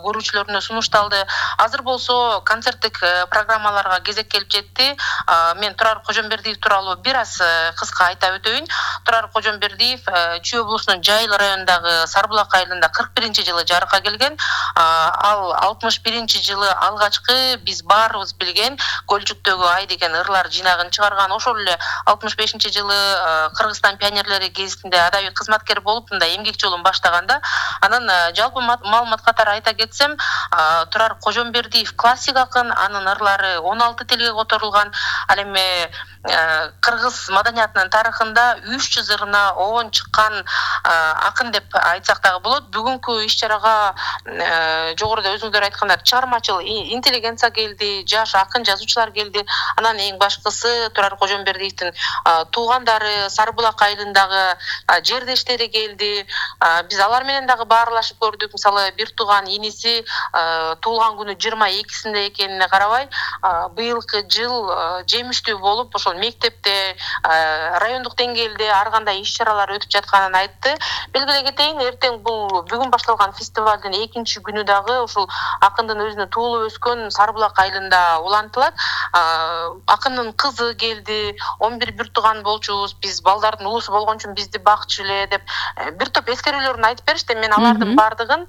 көрүүчүлөрүнө сунушталды. Азыр болсо концерттик программаларга кезек келип жетти. Мен Турар Кожомбердиев тууралуу бир аз кыска айта өтөйүн. Турар Кожомбердиев Чүй облусунун Жайыл районундагы Сарбулак айылында 41-жылы жарыкка келген. Ал 61-жылы алгачкы биз баарыбыз билген Көлчүктөгү ай деген ырлар жинагын чыгарган. Ошол эле 65-жылы Кыргызстан пионерлери гезитинде адабий кызматкер болуп, мындай эмгек жолун баштаганда, анан жалпы маалымат катары айта кетсем, Турар Кожомбердиев классик акын, анын ырлары 16 тилге которулган. Ал эми кыргыз маданиятынын тарыхында 300 ырына оон чыккан акын деп айтсак дагы болот. Бүгүнкү иш-чарага жогоруда өзүңүздөр айткандар чыгармачыл интеллигенция келди, жаш акын жазуучулар келди. Анан эң башкысы Турар Кожомбердиевдин туугандары, Сарбулак айылындагы жердештери келди. Биз алар менен дагы баарлашып көрдүк. Мисалы, бир тууган иниси туулган күнү 22-синде экенине карабай, быйылкы жыл жемиштүү болуп, ошол мектепте, райондук деңгээлде ар кандай иш-чаралар өтүп жатканын айтты. Белгилей кетейин, эртең бүгүн башталган фестивалдын 2-күнү дагы ушул акындын өзүнө туулуп өскөн Сарбулак айылында улантылат. Акындын кызы келди, 11 бир тууган болчубуз, биз балдардын уусу болгон үчүн бизди бакчу эле деп бир топ эскерүүлөрүн айтып беришти. Мен алардын бардыгын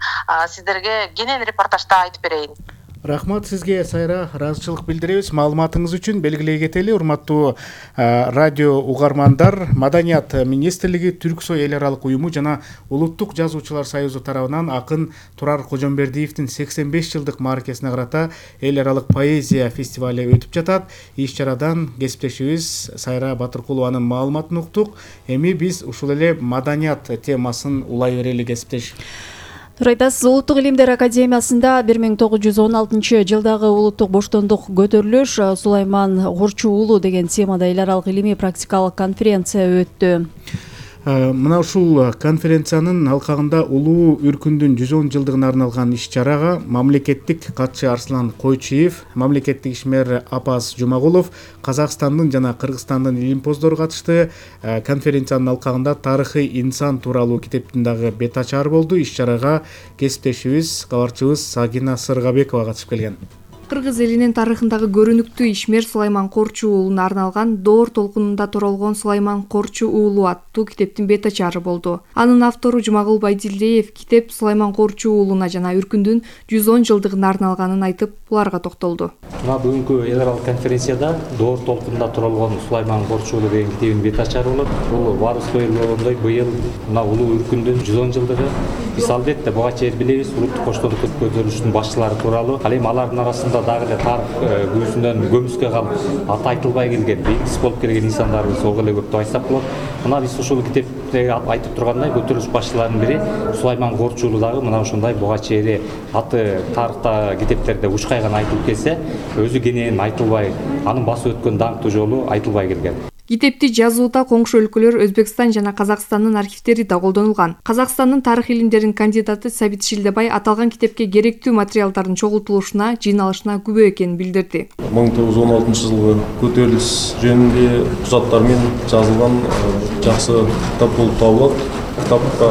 сиздерге кенен репортажда айтып берейин. Рахмат сизге, Сайра, ыраазычылык билдиребиз маалыматыңыз үчүн. Белгилей кетели, урматтуу радио угармандар, Маданият министрлиги, Түрксой эл аралык уюму жана Улуттук жазуучулар союзу тарабынан акын Турар Кожомбердиевдин 85 жылдык мааракесине карата эл аралык поэзия фестивали өтүп жатат. Иш-чарадан кесиптешибиз Сайра Батыркулованын маалыматын уктук. Эми биз ушул эле маданият темасын улай берели, кесиптеш. Туура айтасыз. Улуттук илимдер академиясында 1916 жылдагы улуттук боштондук көтөрүлүш Сулайман Корчу уулу деген темада эл аралык илимий практикалык конференция өттү. Мына ушул конференциянын алкагында улуу үркүндүн 110 жылдыгына арналган иш-чарага мамлекеттик катчы Арслан Койчиев, мамлекеттик ишмер Апаз Жумагулов, Казакстандын жана Кыргызстандын илимпоздору катышты. Конференциянын алкагында тарыхый инсан тууралуу китептин дагы бет ачары болду. Иш-чарага кесиптешибиз, кабарчыбыз Сагина Сыргабекова катышып келген. Кыргыз элинин тарыхындагы көрүнүктүү ишмер Сулайман Корчу уулуна арналган Доор толкунунда торолгон Сулайман Корчу уулу аттуу китептин бет ачары болду. Анын автору Жумагул Байдилдиев китеп Сулайман Корчу уулуна жана үркүндүн 110 жылдыгына арналганын айтып, буларга токтолду. Мына бүгүнкү эл аралык конференцияда Доор толкунунда торолгон Сулайман Корчу уулу деген китебин бет ачары болот. Бул баарыбызга белгилүү быйыл мына улуу үркүндүн 110 жылдыгы. Биз албетте буга чейин билебиз улуттук боштондук көтөрүлүшүнүн башчылары тууралуу. Ал эми алардын арасында дагы эле тарых күүсүнөн көмүскө калып аты айтылбай келген, белгисиз болуп келген инсандарыбыз ого эле көп деп айтсак болот. Мына биз ушул китепте айтып тургандай көтөрүлүш башчыларынын бири Сулайман Корчу уулу дагы мына ушундай буга чейин аты тарыхта китептерде ушкай гана айтылып келсе, өзү кенен айтылбай, анын басып өткөн даңктуу жолу айтылбай келген. Китепти жазууда коңшу өлкөлөр Өзбекстан жана Казакстандын архивдери да колдонулган. Казакстандын тарых илимдеринин кандидаты Сабит Шилдебай аталган китепке керектүү материалдардын чогултулушуна, жыйналышына күбө экенин билдирди. 1916 жылы көтөрүлүш жөнүндө кузаттар менен жазылган жакшы китап болуп табылат. Китапка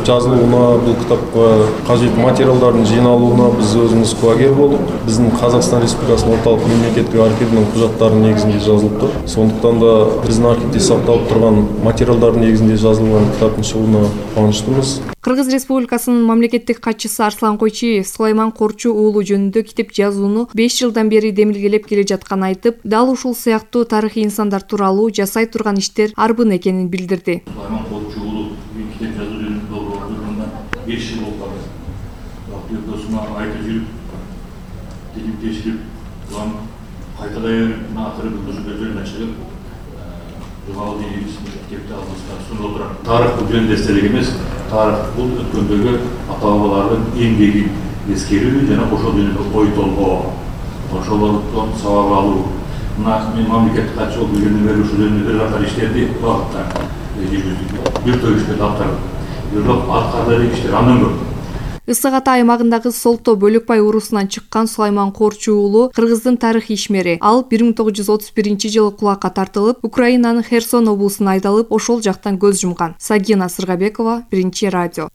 жазылууна, бул китапка кажет материалдардын жыйналууна биз өзүбүз кулагер болдук. Биздин Казакстан Республикасынын орталык мемлекеттик архивинин кузаттарынын негизинде жазылыптыр. Сондуктан да биздин архивде сакталып турган материалдардын негизинде жазылган китаптын чыгууна кубанычтуубуз. Кыргыз Республикасынын мамлекеттик катчысы Арслан Койчиев Сулайман Корчу уулу жөнүндө китеп жазууну 5 жылдан бери демилгелеп келе жатканын айтып, дал ушул сыяктуу тарыхый инсандар тууралуу жасай турган иштер арбын экенин билдирди. Сулайман Корчу уулу китеп жазуу жөнүндө болгондо 5 жыл болуп калды. Досума айтып жүрүп, дилим тешилип, улам кайтадан акыры бул көзөмөн чыгып, Жумагул китепти алдыбызга сунуп отурат. Тарых бул жөн эстелик эмес, тарых бул өткөндөгү ата бабалардын эмгегин эскерүү жана ошол жөнүндө ой толгоо, ошолордон сабак алуу. Мына мен мамлекеттик катчы болуп жүргөндөн бери ушул жөнүндө бир катар иштерди багытта жүргүздүк. Бир топ иштерди аткардык. Бирок аткарылган иштер андан көп. Ысык Ата аймагындагы Солто Бөлөкбай урусунан чыккан Сулайман Корчу уулу Кыргыздын тарых ишмери. Ал 1931 жылы кулакка тартылып, Украинанын Херсон облусуна айдалып, ошол жактан көз жумган. Сагина Сыргабекова, Биринчи радио.